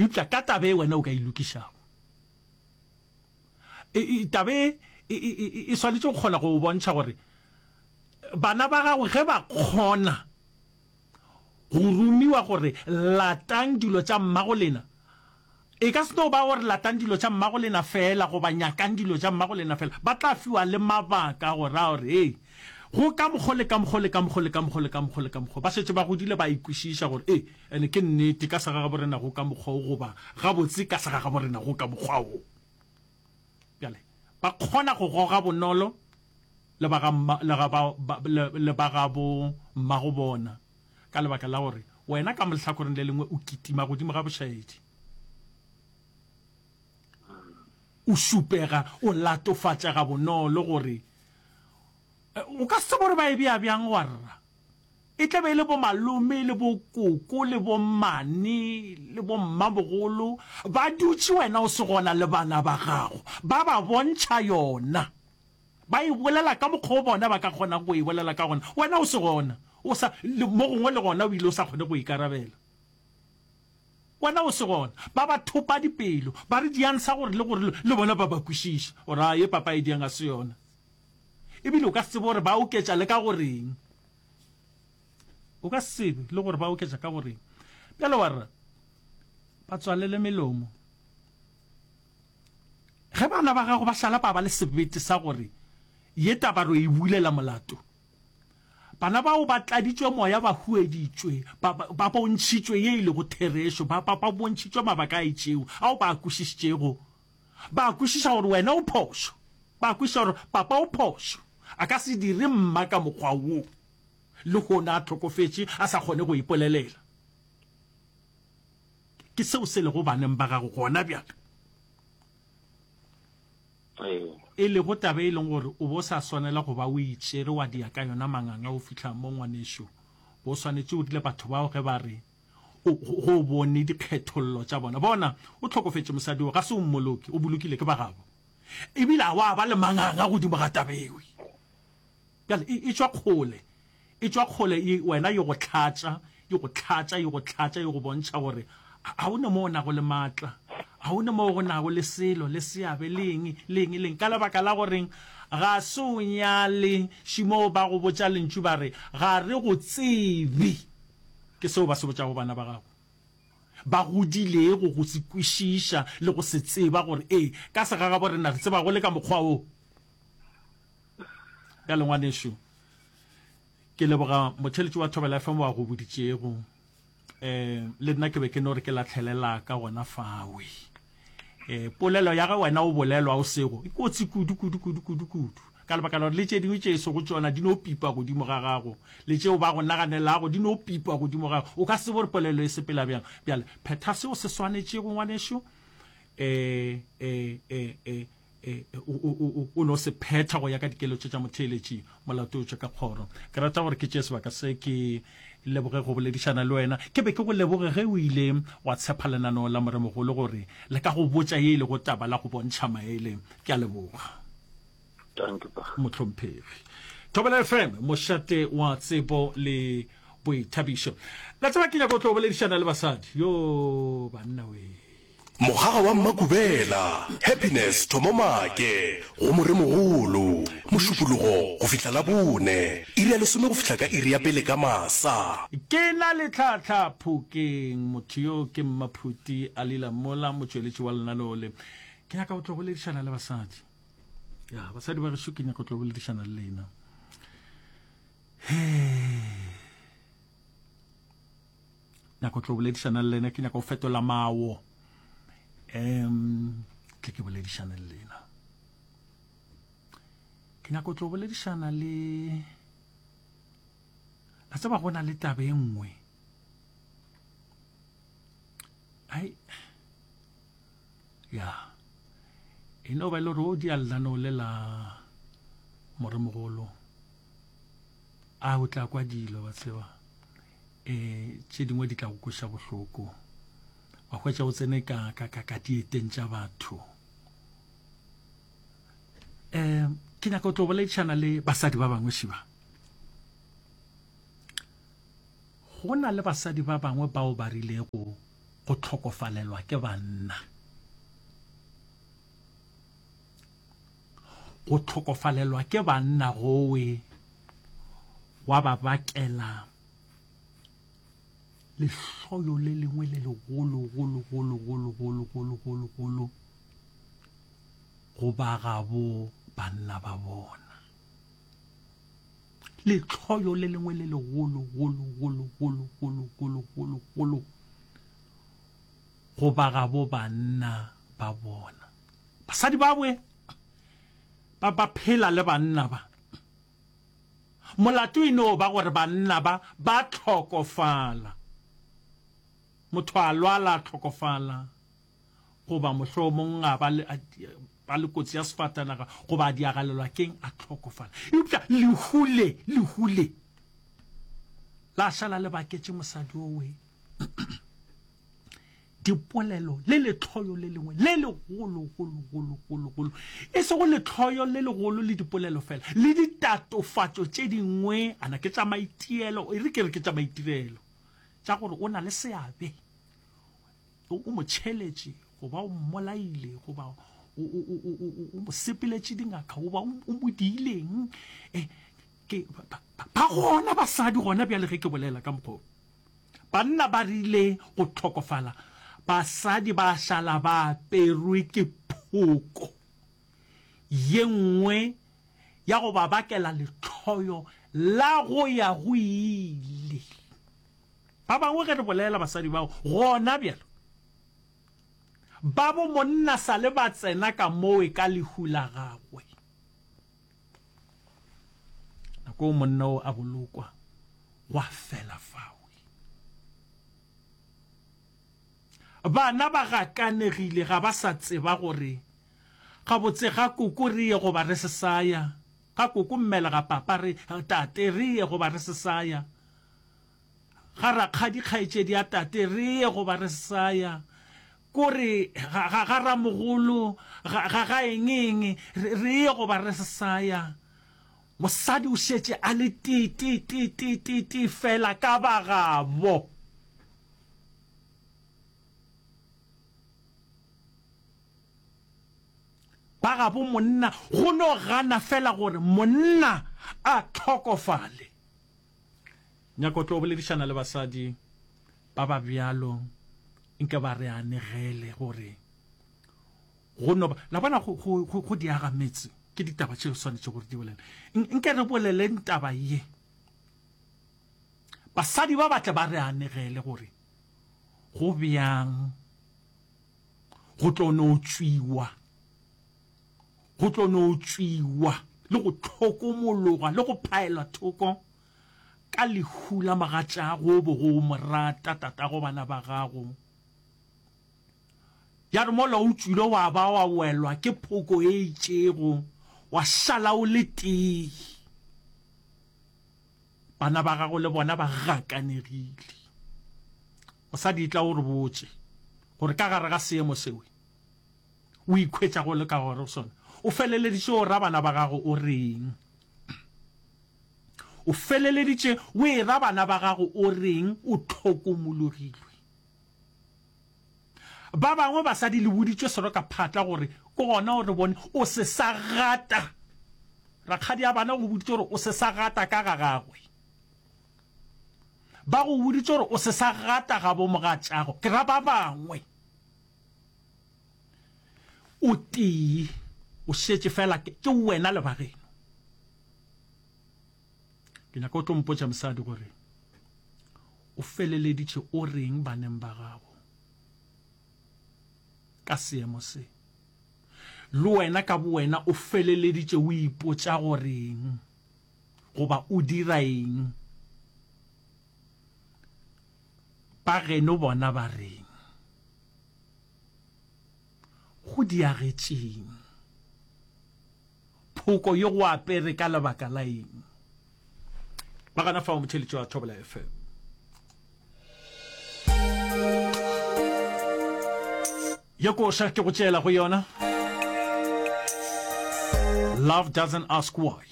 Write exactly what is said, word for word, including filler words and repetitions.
Eupša ka taba e wena o ka e lokišago. E, e, taba e, e, e, e swanetše go kgona go bontšha gore bana ba gago ge ba kgona go romiwa gore latang dilo tša mmago lena, e ka se no ba gore latang dilo tša mmago lena fela goba nyakang dilo tša mmago lena fela, ba tla fiwa le mabaka go ra gore hei, go ka mokgo le ka mokgo le ka mokgo le ka mokgo le ka mokgo le ka mokgo. Ba šetše ba godile ba ikwešiša gore e ene ke nnete ka segagabo rena go ka mokgwa wo goba gabotse ka segagabo rena go ka mokgwa wo. Bjale ba kgona go goga bonolo le ba ga mma, le ga ba, ba, le, le ba ga bo mmago bona ka lebaka la gore wena ka mohlakoreng le lengwe o kitima godimo ga bošaedi, o šupega, o latofatšega bonolo gore o ka se tsebe gore ba e bea bjang warra. E tla be e le bo malome le bo koko le bo mmane le bo mmamogolo ba dutše wena o se gona le bana ba gago, ba ba bontšha yona, ba e bolela ka mokgwa o bona ba ka kgonago go e bolela ka gona, wena o se gona, o sa, le, mo gongwe le gona o ile o sa kgone go ikarabela. Wena o se gona, ba ba thopa dipelo, ba re diansa gore le gore le bona ba ba kwešiša gore a ye papa e diang ga se yona. Ebile o ka se tsebe gore ba oketša le ka goreng. O ka se tsebe le gore ba oketša ka goreng. Bjale wa re ba tswalele melomo. Ge bana ba gago ba šala ba ba le sebete sa gore ye taba re e bulela molato, bana bao ba tladitšwe moya, ba hueditšwe, ba, ba, ba bontšhitšwe ye e lego therešo, ba, ba, ba bontšhitšwe mabaka a itšego ao ba a kwešišitšego. Ba kwešiša gore wena o phošo, ba kwešiša gore papa o phošo, a ka se dire mma ka mokgwa wo, lehono a hlokofetše a sa kgone go ipolelela. Ke seo se lego baneng ba gago gona bjale. E lego taba e leng gore o bo sa swanela go ba o itšere wa dia ka yona manganga o fihla mo ngwanešo. Bo swanetše o rile batho bao ge ba re o, go bone dikgethollo tša bona. Bona, o hlokofetše mosadi wo, ga se o mmoloke, o bolokile ke ba gabo. Ebile a wa ba le manganga godimo ga taba ewe. Bjale e, e tšwa kgole, e tšwa kgole e, wena e go hlatša, e go hlatša, e go hlatša, e go bontšha gore ga o ne mo o nago le maatla, ga o ne mo go nago le selo, le seabe, le eng, le eng, le eng. Ka lebaka la goreng ga se o nyale, šimo ba go botša lentšu ba re ga re go tsebe. Ke seo ba se botšago bana ba gago ba godilego go se kwešiša le go se tseba gore ee ka segagabo rena re tseba go le ka mokgwa wo. Bjale ngwanešu, ke leboga motheletši wa Thobela F M wa go boditšego. Eh, le nna ke be ke no re ke latlhelela ka gona fawe. Eh, polelo ya ge wena o bolelwa o sego e kotsi kudu kudu kudu kudu kudu, ka lebaka la gore le tše dingwe tše e sego tšona di no pipa godimo ga gago, le tšeo ba go naganelago di no pipa godimo ga gago, o ka se tsebe gore polelo e sepela bjang. Bjale phetha seo se swanetšego ngwanešu, eh, eh, eh, eh, eh, o, o, o, o no se phetha go ya ka dikeletšo tša motheeletši molato o tšwe ka kgoro. Ke rata gore ke tšee sebaka se ke leboge go boledišana le wena. Ke be ke go leboge ge o ile wa tshepa lenaneo la Moremogolo gore le ka go botša ye e lego taba la go bontšha maele. Ke a leboga. Thank you, pa. Mohlomphegi. Thobela F M, mošate wa tsebo le boithabišo. La tseba ke nyaka go tlo boledišana le basadi. Yo banna we. Mogaga wa Mmakubela, Happiness Thomo Make, go Moremogolo, Mošupologo go fihla Labone, iri ya lesome go fihla ka iri ya pele ka masa. Ke na le tlhahla Phokeng, motho yo ke Mmaphuti a Lila Mola, motšweletši wa lenaneo le. Ke nyaka go tlo boledišana le basadi. Ya, basadi ba gešo ke nyaka go tlo boledišana le lena. Hee. Nyaka go tlo boledišana le lena, ke nyaka go fetola mawo. Um, tle ke boledišane le lena. Ke nyaka go tlo boledišana le, la tseba go na le taba e nngwe. Ai, ya, e no ba e le gore o dia lenaneo le la Moremogolo, a o tla kwa dilo ba tseba, eh, tše dingwe di tla go kweša bohloko, wa hwetša o tsene ka, ka, ka, ka dieteng tša batho. Eh, ke nyaka go tlo boledišana le basadi ba bangwe šiba. Go na le basadi ba bangwe bao ba rilego Go hlokofalelwa ke banna. Go hlokofalelwa ke banna gowe gwa ba bakela lehloyo le lengwe le legolo golo golo golo golo golo golo golo go ba gabo banna ba bona. Lehloyo le lengwe le legolo golo golo golo golo golo golo golo go ba gabo banna ba bona. Basadi ba bwe ba ba phela le banna ba. Molato e no ba gore banna ba ba hlokofala. Motho a lwala a hlokofala, goba mohlomong a ba le, a, ba le kotsi ya sefatanaga, goba a diagalelwa keng a hlokofala. Eupša lehu le, lehu le la šala le baketše mosadi owe dipolelo le lehloyo le lengwe le legolo golo golo golo golo, e sego lehloyo le legolo le dipolelo fela, le ditatofatšo tše dingwe, ana ke tša maitielo, e re ke re ke tša maitirelo, tša gore o na le seabe, o, o mo tšheletše, goba o mmolaile, goba o, o, o, o, o, o mo sepeletše dingaka, goba o, o mo diileng. E, ke, ba, ba, ba gona basadi gona bjale ge ke bolela ka mokgwa wo. Banna ba rile go hlokofala, basadi ba šala ba aperwe ke phoko ye nngwe ya go ba bakela lehloyo la go ya go ile. Ba bangwe ge re bolela basadi bao gona bjalo, ba bo monna sa le ba tsena ka mowe ka lehu la gagwe. Nako monna o a bolokwa, gwa fela fawe. Bana ba gakanegile, ga ba sa tseba gore gabotse ga koko re ye goba re se sa ya, ga koko mmele ga papa re tate re ye goba re se sa ya, ga rakgadi kgaetšedi ya tate re ye goba re se sa ya, kore ga, ga, ga ramogolo ga, ga, ga eng eng re, re ye goba re se sa ya. Mosadi o šetše a le tee tee tee tee tee tee fela ka ba gabo. Ba gabo monna go no gana fela gore monna a hlokofale. Nyaka o tlo boledišana le basadi ba ba bjalo, nke ba re anegele gore go no ba, la bona go, go, go, go diaga metse ke ditaba tše swanetše gore di bolele. Nke re boleleng taba ye, basadi ba batle ba re anegele gore go bjang go tlo no tšwiwa, go tlo no tšwiwa le go hlokomologwa le go phaelwa thoko ka lehu la mogatšago bo go mo rata tatago bana ba gago. Ya re mola o tšwile wa ba wa welwa ke phoko e itšego, wa šala o le tee. Bana ba gago le bona ba gakanegile. Mosadi tla o re botše gore ka gare ga seemo sewe o ikhwetša go le ka gore sona, o feleleditše o ra bana ba gago o reng? O feleleditše o e ra bana ba gago o reng? O hlokomologilwe. Ba bangwe basadi le boditšwe sero ka phatla gore ke gona o re bone o se sa gata. Rakgadi ya bana go boditše gore o se sa gata ka ga gagwe. Ba go boditše gore o se sa gata ga bo mogatšago. Ke ra ba bangwe. O tee, o šetše fela ke wena le bageno. Ke nyaka o tlo mpotša mosadi gore o feleleditše o reng baneng ba gago ka seemo se. Le wena ka bowena o feleleditše o ipotša goreng goba o dira eng. Ba geno bona ba reng? Go diagetšeng? Phoko ye go apere ka lebaka la eng? Ba gana fao motheletši wa Thobela F M. Ye koša ke go tšeela go yona. Love doesn't ask why.